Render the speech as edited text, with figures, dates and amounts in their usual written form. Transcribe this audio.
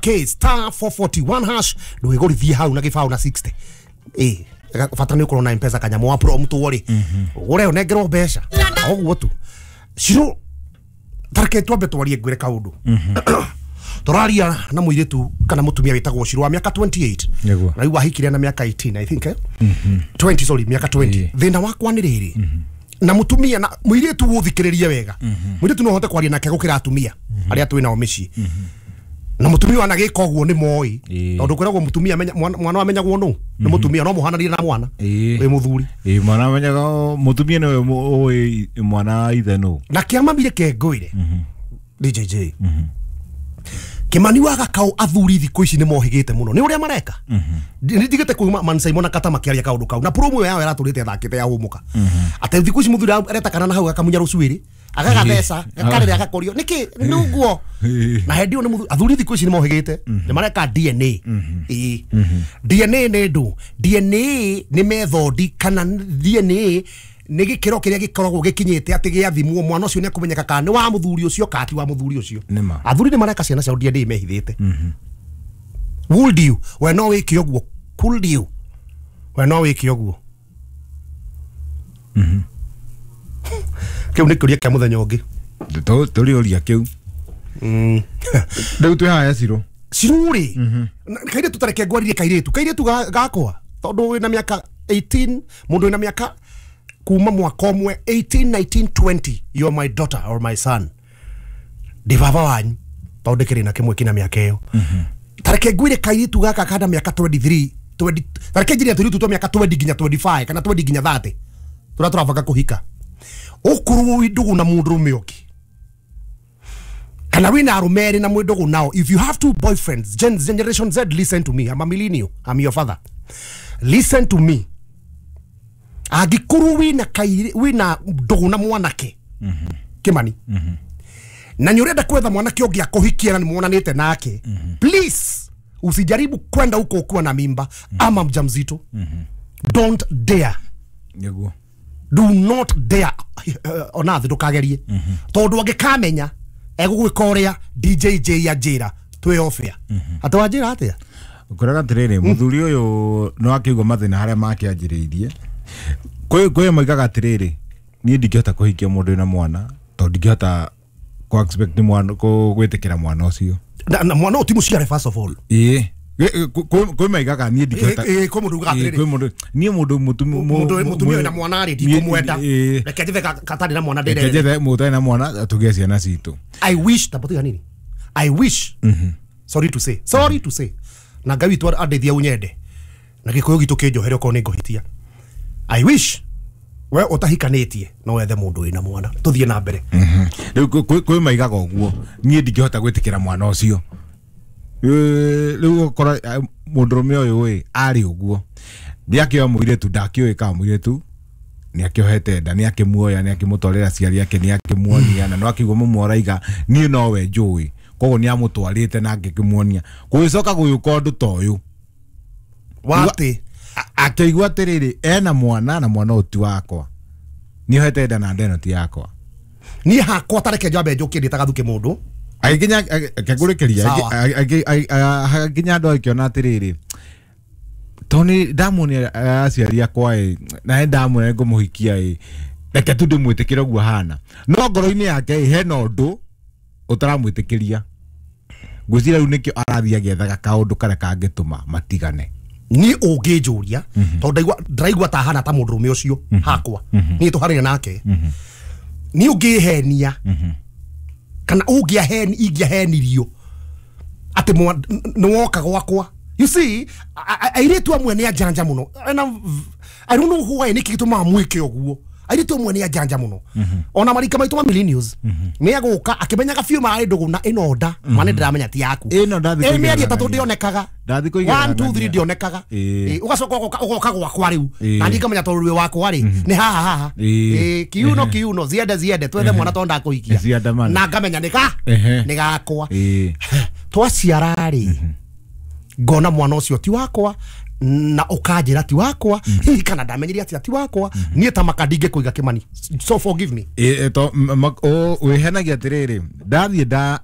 K star 441 hash ndwigurithie hau na gibao na 60 bata ni ukorwo na mpesa kanyamu wa prompt ri ugure unengerwo mbeca oguo tu ciro tareke twambe twarie ngwire kaundu. Turaria na muiritu kana mutumia witagwo Ciro wa miaka 28 na riu ahikire na miaka 18 I think 20 sorry miaka 20. Thina wakwa ni riri na mutumia na muiritu guthikiririe wega. Muiritu no hote kwaria nake gukira atumia aria twi nao micii. Na mutumia wana gika uguo ni moi tondu kwiragwo mutumia mwana amenyagwo nu ni mutumia no muhananie na mwana wi muthuri. Mwana amenyaga mutumia ni we mwana ithe nu na kiamamire kengwire DJJ Kimani wa Gakau athuri thiku ici ni mohigite muno ni uria mareka. Ni ndigite kuuma Man Simon akata makiaria kaundu kau na promo yao iraturite athakite ya humuka ate thiku ici muthuri areta kana na hau akamunya rucuiri agagatheca gakarira agakorio niki nuguo na hendi ni muthuri athuri thiku ici ni mohigite ni mareka DNA. DNA ni ndu DNA ni methodi kana DNA ni gikiro kiria gikoragwo gikinyite ati giathimwo mwana ucio ni akumenyeka kana ni wa muthuri ucio kana ti wa muthuri ucio. Athuri ni mareka ciana ciao DNA mehithite. Would you we no wike uguo could you we no wike uguo kiu ni kiuria kia muthenya ungi turi uria kiu riu twi haya Ciro Ciro ri kairitu tareke ngwaririe kairitu gakwa tondu wina miaka 18 mundu wina miaka kuma mwaka umwe 18 19 20 you are my daughter or my son ndi baba wanyu tondu ndikiri na kimwe kina miaka iyo. Tareke ngwire kairitu gaka kana miaka 23 20 tareke njirie turitu twa miaka 20 nginya 25 kana 20 nginya 30 turia turabanga kuhika ukurwo wi ndugu na mundurume ungi kana wina arume eri na mwi ndugu nao. If you have two boyfriends, generation Z, listen to me. I'm a millennial, I'm your father, listen to me. Angikorwo wina kairi wina ndugu na mwanake Kimani na ni urenda kwetha mwanake ungi akuhikia na ni muonanite nake, please usijaribu kwenda huko ukiwa na mimba ama mjamzito. Don't dare. Niguo do not dare ona thi ndukagerie tondu angikamenya egugwika uria DJJ ya njira twi ofia ati wa njira atia ukoraga atiriri muthuri uyu no akiigua mathina haria makianjiriirie kwi moigaga atiriri nie ndingihota kuhikia mundu wina mwana tondu ndingihota ku expect ni mwana ku gwitikira mwana ucio na mwana uti muciare first of all. Kwi maigaga nie ndingihota kwi mundu ugaga atiriri kwi mundu nie mundu mutumia wina mwana ri ndikumwenda reke njethe katari na mwana ndire reke njethe mundu na mwana tugie ciana citu. I wish tapotiga nini I wish sorry to say na Ngai witu andeithia unyende na gikuyu gitu kinjohere okorwo ni nguhitia. I wish we utahikanitie no wethe mundu wina mwana tuthie na mbere. Riu kwi maigaga uguo nie ndingihota gwitikira mwana ucio. Riu ukora mundurume uyu ĩ ari uguo ndiakioya muiritu ndakiũĩ kana muiritu niakiohete nda niakimuoya niakimutwarira aciari ake niakimuonia na no akigua mumworaiga nie nowe njũĩ koguo niamutwarite na ngĩkĩmuonia gũgĩcoka gũgĩũka ũndũ ta ũyũ wati akĩigua atĩrĩrĩ ena mwana na mwana ũyũ ti wakwa nĩohete nda na nda ĩno ti yakwa niĩ hakwa tareke njambe njũkie ndĩtaga thuke mũndũ agĩkinya akĩngũrĩkĩria agĩkinya andũ akĩona atĩrĩrĩ tondũ nĩ ndamuonia aciari akwa ĩ na nĩ ndamuonia ngũmũhikia ĩ reke tu ndĩmwĩtĩkĩre ũguo ahana no ngoro-inĩ yake ĩ hena ũndũ ũtaramwĩtĩkĩria ngwĩciria rĩu nĩkĩo arathiĩ agĩethaga kaũndũ karĩa kangĩtũma matigane. Ni ũngĩnjũria tondũ ndĩraigua ta hana ta mũndũrũme ũcio hakwa niĩ tũhanaine nake ni ũngĩhenia kana ũngĩaheni ingĩahenirio atĩ nĩ woka gwakwa. You see airĩtu amwe nĩ anjanja mũno and I don't know why nĩkĩ gĩtũmaga mwĩke ũguo. Airĩtu amwe nĩ anjanja mũno ona marika maitũ ma millennials nĩ agũka akĩmenyaga biũ marĩ ndũgũ na ĩno nda ma nĩ ndĩramenya ti yaku mĩeri ĩtatũ ndĩonekaga 1 2 3 ndĩonekaga ũgacoka ũgoka gwakwa rĩu na niĩ ngamenya tondũ rwĩ wakwa rĩ nĩ haha haha kiuno kiuno ziende ziende twethe mwana tondũ ndakũhikia na ngamenya nĩ gakwa twaciara rĩ ngona mwana ũcio ti wakwa na ukanjira ti wakwa hihi kana ndamenyire atia ti wakwa nie ta maka ndingĩkũiga Kimani, so forgive me. Wĩhenagia atĩrĩrĩ ndathiĩ ndamwĩra